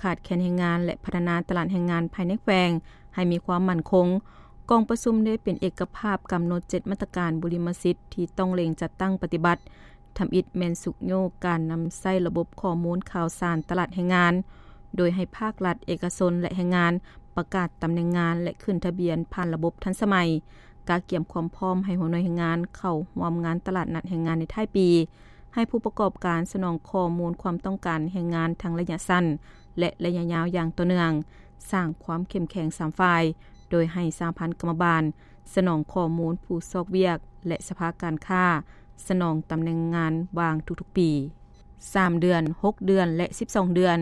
ຂາດແຄນແຮງງານ ແລະ ພັດທະນາຕະຫຼາດແຮງງານພາຍໃນແຂວງໃຫ້ມີຄວາມໝັ້ນຄົງ. ກອງປະຊຸມໄດ້ເປັນເອກະພາບກຳນົດເຈັດມາດຕະການບຸລິມະສິດທີ່ຕ້ອງເລັ່ງຈັດຕັ້ງປະຕິບັດ, ທຳອິດແມ່ນຊຸກຍູ້ການນຳໃຊ້ລະບົບຂໍ້ມູນຂ່າວສານຕະຫຼາດແຮງງານ, ໂດຍໃຫ້ພາກລັດ, ເອກະຊົນ ແລະ ແຮງງານ ປະກາດຕຳແໜ່ງງານ ແລະ ຂຶ້ນທະບຽນຜ່ານລະບົບທັນສະໄໝ, ກະກຽມຄວາມພ້ອມໃຫ້ຫົວໜ່ວຍແຮງງານເຂົ້າຮ່ວມງານຕະຫຼາດນັດແຮງງານໃນທ້າຍປີ, ໃຫ້ຜູ້ປະກອບການສະໜອງຂໍ້ມູນຄວາມຕ້ອງການແຮງງານທັງໄລຍະສັ້ນ ແລະ ໄລຍະຍາວຢ່າງຕໍ່ເນື່ອງ, ສ້າງຄວາມເຂັ້ມແຂງສາມຝ່າຍ, ໂດຍໃຫ້ສະຫະພັນກຳມະບານສະໜອງຂໍ້ມູນຜູ້ຊອກວຽກ ແລະ ສະພາການຄ້າສະໜອງຕຳແໜ່ງງານວ່າງທຸກໆປີ, ສາມເດືອນ, ຫົກເດືອນ ແລະ ສິບສອງເດືອນ,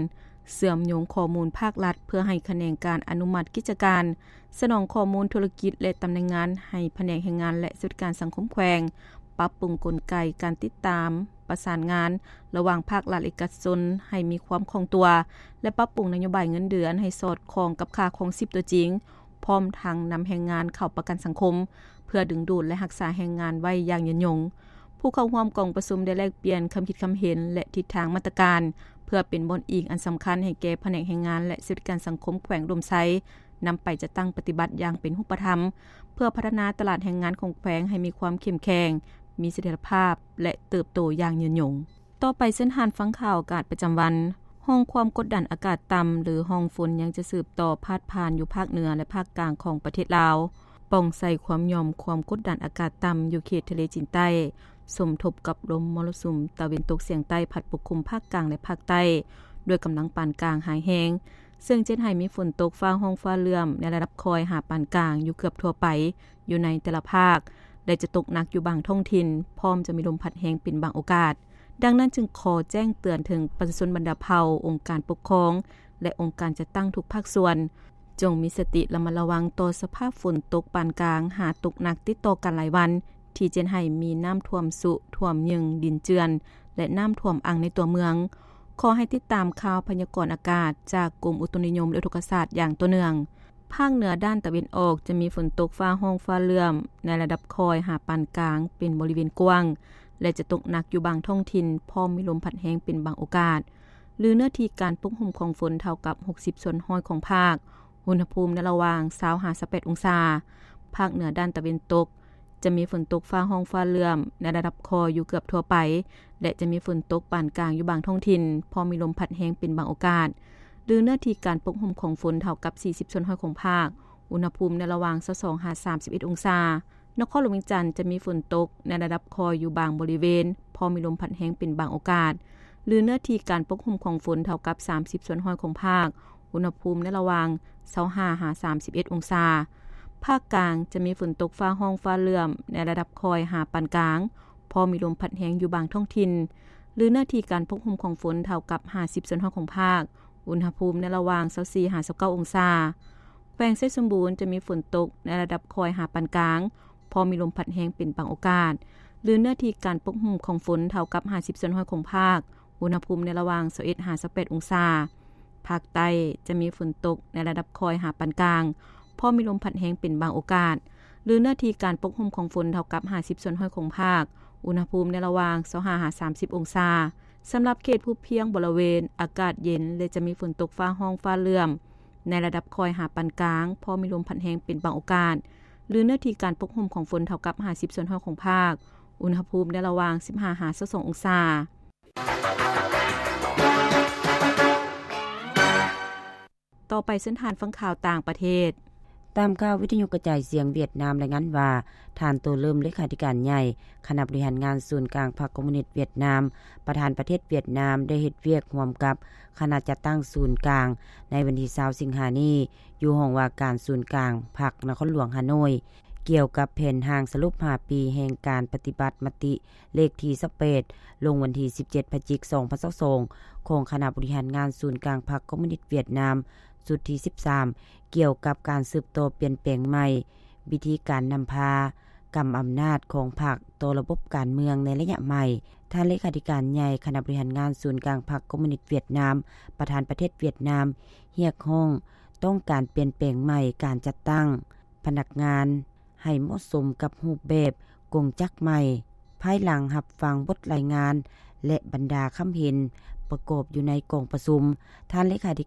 ເຊື່ອມໂຍງຂໍ້ມູນພາກລັດເພື່ອໃຫ້ຂະແໜງການອະນຸມັດກິດຈະການ, ສະໜອງຂໍ້ມູນທຸລະກິດ ແລະ ຕຳແໜ່ງງານໃຫ້ພະແນກແຮງງານ ແລະ ສະຫວັດດີການສັງຄົມແຂວງ, ປັບປຸງກົນໄກການຕິດຕາມປະສານງານລະຫວ່າງພາກລັດ ແລະ ເອກະຊົນໃຫ້ມີຄວາມຄ່ອງຕົວ ແລະ ປັບປຸງນະໂຍບາຍເງິນເດືອນໃຫ້ສອດຄ່ອງກັບຄ່າຄອງຊີບຕົວຈິງ, ພ້ອມທັງນຳແຮງງານເຂົ້າປະກັນສັງຄົມ ເພື່ອດຶງດູດ ແລະ ຮັກສາແຮງງານໄວ້ຢ່າງຍືນຍົງ. ຜູ້ເຂົ້າຮ່ວມກອງປະຊຸມໄດ້ແລກປ່ຽນຄຳຄິດຄຳເຫັນ ແລະ ທິດທາງມາດຕະການ ເພື່ອເປັນບ່ອນອີງອັນສຳຄັນໃຫ້ແກ່ພະແນກແຮງງານ ແລະ ສະຫວັດດີການສັງຄົມແຂວງອຸດົມໄຊ ນຳໄປຈັດຕັ້ງປະຕິບັດຢ່າງເປັນຮູບປະທຳ ເພື່ອພັດທະນາຕະຫຼາດແຮງງານຂອງແຂວງໃຫ້ມີຄວາມເຂັ້ມແຂງ, ມີສະຖຽນລະພາບ ແລະ ເຕີບໂຕຢ່າງຍືນຍົງ. ຕໍ່ໄປເຊີນທ່ານຟັງຂ່າວອາກາດປະຈຳວັນ. ຮ່ອງຄວາມກົດດັນອາກາດຕ່ຳ ຫຼື ຮ່ອງຝົນ ຍັງຈະສືບຕໍ່ພາດຜ່ານຢູ່ພາກເໜືອ ແລະ ພາກກາງຂອງປະເທດລາວ, ປ່ອງໃສ່ຄວາມຫຍ່ອມຄວາມກົດດັນອາກາດຕ່ຳຢູ່ເຂດທະເລຈີນໃຕ້, ສົມທົບກັບລົມມໍລະສຸມຕາເວັນຕົກສຽງໃຕ້ພັດປົກຄຸມພາກກາງ ແລະ ພາກໃຕ້ ດ້ວຍກຳລັງປານກາງຫາແຮງ, ເຊິ່ງຈະເຮັດໃຫ້ມີຝົນຕົກຟ້າຮ້ອງຟ້າເຫຼື້ອມໃນລະດັບຄ່ອຍຫາປານກາງຢູ່ເກືອບທົ່ວໄປ ຢູ່ໃນແຕ່ລະພາກ ແລະ ຈະຕົກໜັກຢູ່ບາງທ້ອງຖິ່ນ, ພ້ອມຈະມີລົມພັດແຮງເປັນບາງໂອກາດ. ດັ່ງນັ້ນຈຶ່ງຂໍແຈ້ງເຕືອນເຖິງປະຊາຊົນບັນດາເຜົ່າ, ອົງການປົກຄອງ ແລະ ອົງການຈັດຕັ້ງທຸກພາກສ່ວນ, ຈົ່ງມີສະຕິລະມັດລະວັງຕໍ່ສະພາບຝົນຕົກປານກາງຫາຕົກໜັກຕິດຕໍ່ກັນຫຼາຍວັນ, ທີ່ຈະເຮັດໃຫ້ມີນ້ຳຖ້ວມຊຸ, ຖ້ວມຍຶ່ງ, ດິນເຈື່ອນ ແລະ ນ້ຳຖ້ວມອັ່ງໃນຕົວເມືອງ. ຂໍໃຫ້ຕິດຕາມຂ່າວພະຍາກອນອາກາດຈາກກົມອຸຕຸນິຍົມ ແລະ ອຸທົກກະສາດຢ່າງຕໍ່ເນື່ອງ. ພາກເໜືອດ້ານຕາເວັນອອກຈະມີຝົນຕົກຟ້າຮ້ອງຟ້າເຫຼື້ອມໃນລະດັບຄ່ອຍຫາປານກາງເປັນບໍລິເວນກວ້າງ ແລະ ຈະຕົກໜັກຢູ່ບາງທ້ອງຖິ່ນ, ພ້ອມມີລົມພັດແຮງເປັນບາງໂອກາດ, ຫຼື ເນື້ອທີ່ການປົກຫຸ້ມຂອງຝົນເທົ່າກັບຫົກສິບສ່ວນຮ້ອຍຂອງພາກ, ອຸນຫະພູມໃນລະຫວ່າງຊາວຫາຊາວແປດອົງສາ. ພາກເໜືອດ້ານຕາເວັນຕົກ ຈະມີຝົນຕົກຟ້າຮ້ອງຟ້າເຫຼື້ອມໃນລະດັບຄ່ອຍຢູ່ເກືອບທົ່ວໄປ ແລະ ຈະມີຝົນຕົກປານກາງຢູ່ບາງທ້ອງຖິ່ນ, ພ້ອມມີລົມພັດແຮງເປັນບາງໂອກາດ, ຫຼື ເນື້ອທີ່ການປົກຫຸ້ມຂອງຝົນເທົ່າກັບສີ່ສິບສ່ວນຮ້ອຍຂອງພາກ, ອຸນຫະພູມໃນລະຫວ່າງຊາວສອງຫາສາມສິບເອັດອົງສາ. ນະຄອນຫຼວງວຽງຈັນຈະມີຝົນຕົກໃນລະດັບຄ່ອຍຢູ່ບາງບໍລິເວນ, ພ້ອມມີລົມພັດແຮງເປັນບາງໂອກາດ, ຫຼື ເນື້ອທີ່ການປົກຫຸ້ມຂອງຝົນເທົ່າກັບສາມສິບສ່ວນຮ້ອຍຂອງພາກ, ອຸນຫະພູມໃນລະຫວ່າງຊາວຫ້າຫາສາມສິບເອັດອົງສາ. ພາກກາງຈະມີຝົນຕົກຟ້າຮ້ອງຟ້າເຫຼື້ອມໃນລະດັບຄ່ອຍຫາປານກາງ, ພໍມີລົມພັດແຮງຢູ່ບາງທ້ອງຖິ່ນ, ຫຼື ເນື້ອທີ່ການປົກຫຸ້ມຂອງຝົນເທົ່າກັບຫ້າສິບສ່ວນຮ້ອຍຂອງພາກ, ອຸນຫະພູມໃນລະຫວ່າງຊາວສີ່ຫາຊາວເກົ້າອົງສາ. ແຂວງໄຊສົມບູນຈະມີຝົນຕົກໃນລະດັບຄ່ອຍຫາປານກາງ, ພໍມີລົມພັດແຮງເປັນບາງໂອກາດ, ຫຼື ເນື້ອທີ່ການປົກຫຸ້ມຂອງຝົນເທົ່າກັບຫ້າສິບສ່ວນຮ້ອຍຂອງພາກ, ອຸນຫະພູມໃນລະຫວ່າງຊາວເອັດຫາຊາວແປດອົງສາ. ພາກໃຕ້ຈະມີຝົນຕົກໃນລະດັບຄ່ອຍຫາປານກາງ, ພໍມີລົມພັດແຮງເປັນບາງໂອກາດ, ຫຼື ເນື້ອທີ່ການປົກຫຸ້ມຂອງຝົນເທົ່າກັບຫ້າສິບສ່ວນຮ້ອຍຂອງພາກ, ອຸນຫະພູມໃນລະຫວ່າງຊາວຫ້າຫາສາມສິບອົງສາ. ສຳລັບເຂດພູພຽງບໍລະເວນອາກາດເຢັນ ແລະ ຈະມີຝົນຕົກຟ້າຮ້ອງຟ້າເຫຼື້ອມໃນລະດັບຄ່ອຍຫາປານກາງ, ພໍມີລົມພັດແຮງເປັນບາງໂອກາດ, ຫຼື ເນື້ອທີ່ການປົກຫຸ້ມຂອງຝົນເທົ່າກັບຫ້າສິບສ່ວນຮ້ອຍຂອງພາກ, ອຸນຫະພູມໃນລະຫວ່າງສິບຫ້າຫາຊາວສອງອົງສາ. ຕໍ່ໄປເຊີນທ່ານຟັງຂ່າວຕ່າງປະເທດ. ຕາມຂ່າວວິທະຍຸກະຈາຍສຽງຫວຽດນາມລາຍງານວ່າ, ທ່ານ ໂຕ ເລີມ ເລຂາທິການໃຫຍ່ຄະນະບໍລິຫານງານສູນກາງພັກຄອມມູນິດຫວຽດນາມ, ປະທານປະເທດຫວຽດນາມ ໄດ້ເຮັດວຽກຮ່ວມກັບຄະນະຈັດຕັ້ງສູນກາງໃນວັນທີຊາວສິງຫານີ້ ຢູ່ຫ້ອງວ່າການສູນກາງພັກນະຄອນຫຼວງຮ່າໂນ້ຍ ກ່ຽວກັບແຜນຮ່າງສະຫຼຸບຫ້າປີແຫ່ງການປະຕິບັດມະຕິ ເລກທີຊາວແປດ ລົງວັນທີສິບເຈັດ ພະຈິກ ສອງພັນຊາວສອງ ຂອງຄະນະບໍລິຫານງານສູນກາງພັກຄອມມູນິດຫວຽດນາມ ຊຸດທີສິບສາມ ກ່ຽວກັບການສືບຕໍ່ປ່ຽນແປງໃໝ່ວິທີການນຳພາ, ກຳອຳນາດຂອງພັກຕໍ່ລະບົບການເມືອງໃນໄລຍະໃໝ່. ທ່ານເລຂາທິການໃຫຍ່ຄະນະບໍລິຫານງານສູນກາງພັກຄອມມູນິດຫວຽດນາມ, ປະທານປະເທດຫວຽດນາມ ຮຽກຮ້ອງຕ້ອງການປ່ຽນແປງໃໝ່ການຈັດຕັ້ງພະນັກງານ ໃຫ້ເໝາະສົມກັບຮູບແບບກົງຈັກໃໝ່. ພາຍຫຼັງຮັບຟັງບົດລາຍງານ ແລະ ບັນດາຄຳເຫັນປະກອບຢູ່ໃນກອງປະຊຸມ, ທ່ານເລຂາທິກ